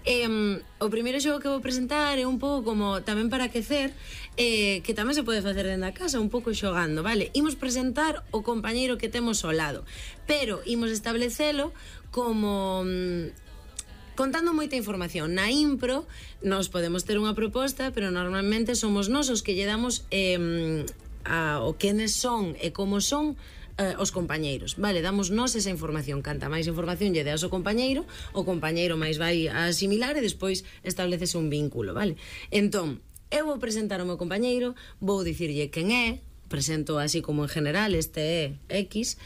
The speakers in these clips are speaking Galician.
O primeiro xogo que vou presentar é un pouco como tamén para aquecer, que tamén se pode facer dentro da casa, un pouco xogando, vale? Imos presentar o compañeiro que temos ao lado, pero imos establecelo como contando moita información. Na impro nós podemos ter unha proposta, pero normalmente somos nós os que lle damos o quenes son e como son os compañeiros, vale, damos nós esa información. Canta máis información lle deas ao compañeiro, o compañeiro máis vai a asimilar e despois establecese un vínculo, vale? Entón, eu vou presentar o meu compañeiro, vou dicirlle quen é, presento así como en general, este é X,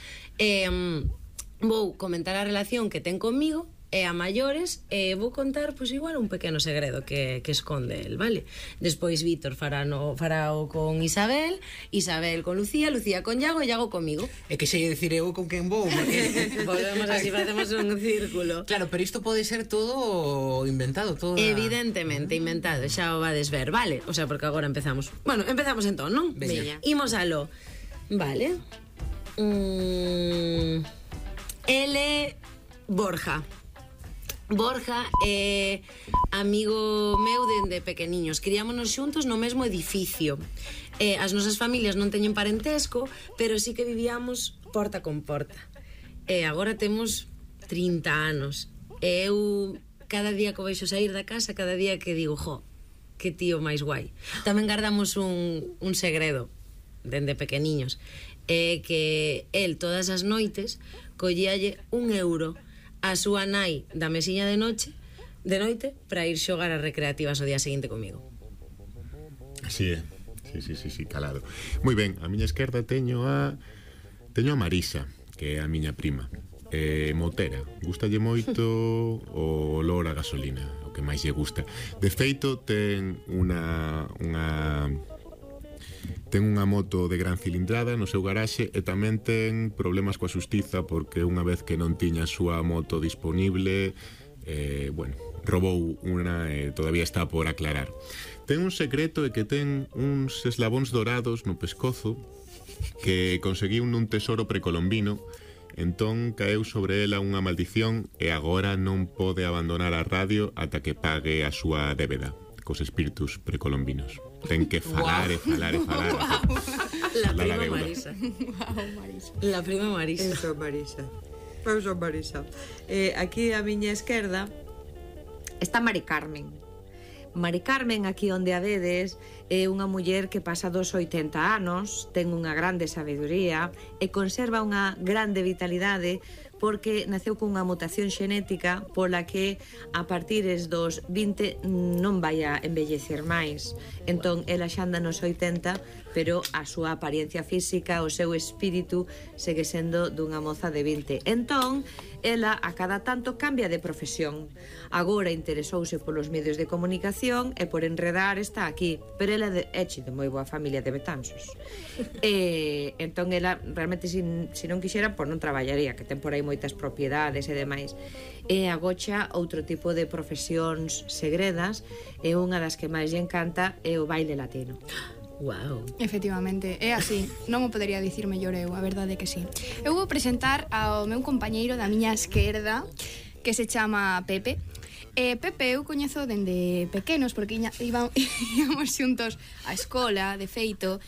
vou comentar a relación que ten comigo e a maiores, vou contar pois igual un pequeno segredo que esconde el, vale? Despois Víctor farao con Isabel, Isabel con Lucía, Lucía con Iago e Iago comigo. É que sei dicir eu con quen vou, porque volvemos así, facemos un círculo. Claro, pero isto pode ser todo inventado, todo. Evidentemente inventado, xa o vades ver, vale? O sea, porque agora empezamos. Bueno, empezamos entón, non? Veña. Imos alo. Vale. Ele Borja. Borja é amigo meu dende pequeniños. Criámonos xuntos no mesmo edificio. As nosas familias non teñen parentesco, pero sí que vivíamos porta con porta. Agora temos 30 anos. Eu cada día que veixo sair da casa, cada día que digo, jo, que tío máis guai. Tamén guardamos un segredo dende pequeniños. Que el todas as noites collíalle €1 a súa nai da mesiña de noite para ir xogar as recreativas o día seguinte comigo. Así é. Sí, calado. Moi ben, a miña esquerda teño a Marisa, que é a miña prima. Motera, gustalle moito o olor a gasolina, o que máis lle gusta. De feito, ten unha moto de gran cilindrada no seu garaxe e tamén ten problemas coa xustiza porque unha vez que non tiña a súa moto disponible, robou unha e todavía está por aclarar. Ten un secreto e que ten uns eslabóns dorados no pescozo que conseguiu nun tesoro precolombino. Entón caeu sobre ela unha maldición e agora non pode abandonar a radio ata que pague a súa débeda cos espíritus precolombinos. Ten que falar e falar e falar. La prima Marisa. La prima Marisa. Eu son Marisa. Aquí a miña esquerda está Mari Carmen. Mari Carmen, aquí onde a vedes, é unha muller que pasa dos 80 anos, ten unha grande sabedoría e conserva unha grande vitalidade porque naceu cunha mutación xenética pola que a partires dos 20 non vai a envellecer máis. Entón, ela xa anda nos 80, pero a súa apariencia física, o seu espírito, segue sendo dunha moza de 20. Entón, ela a cada tanto cambia de profesión. Agora interesouse polos medios de comunicación e por enredar está aquí, pero ela é de moi boa familia de Betanzos. Entón, ela realmente, se non quixera, pois non traballaría, que ten por aí moitas propiedades e demais. E agocha outro tipo de profesións segredas e unha das que máis lle encanta é o baile latino. Wow. Efectivamente, é así. Non o podería dicir mellor eu, a verdade é que sí. Eu vou presentar ao meu compañeiro da miña esquerda, que se chama Pepe. Pepe eu coñezo dende pequenos porque íamos xuntos á escola, de feito.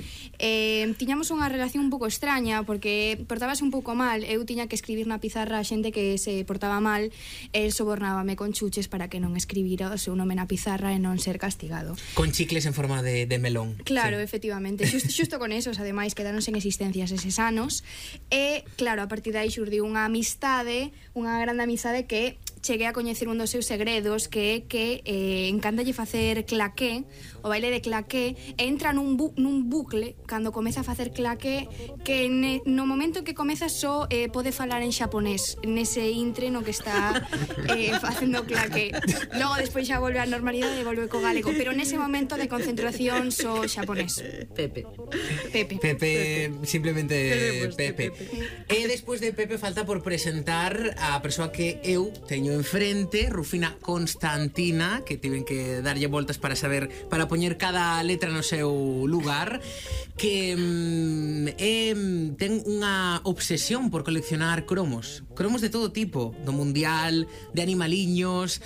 Tiñamos unha relación un pouco extraña porque portábase un pouco mal. Eu tiña que escribir na pizarra a xente que se portaba mal. El sobornábame con chuches para que non escribira o seu nome na pizarra e non ser castigado. Con chicles en forma de melón. Claro, sí. Efectivamente. Xusto con esos, ademais, quedaronse en existencias eses anos. E, claro, a partir de aí xurdiu unha amistade, unha grande amizade que cheguei a coñecer un dos seus segredos, que é que encántalle facer claqué, o baile de claqué, e entra nun bucle cando comeza a facer claqué, que no momento que comeza só pode falar en xaponés, nese intre no que está facendo claqué. Logo despois xa volve á normalidade e volve co galego, pero nese momento de concentración só xaponés. Pepe, simplemente Pepe. E despois de Pepe falta por presentar a persoa que eu teño enfrente, Rufina Constantina, que tiven que darlle voltas para poñer cada letra no seu lugar, que ten unha obsesión por coleccionar cromos de todo tipo, do mundial, de animaliños,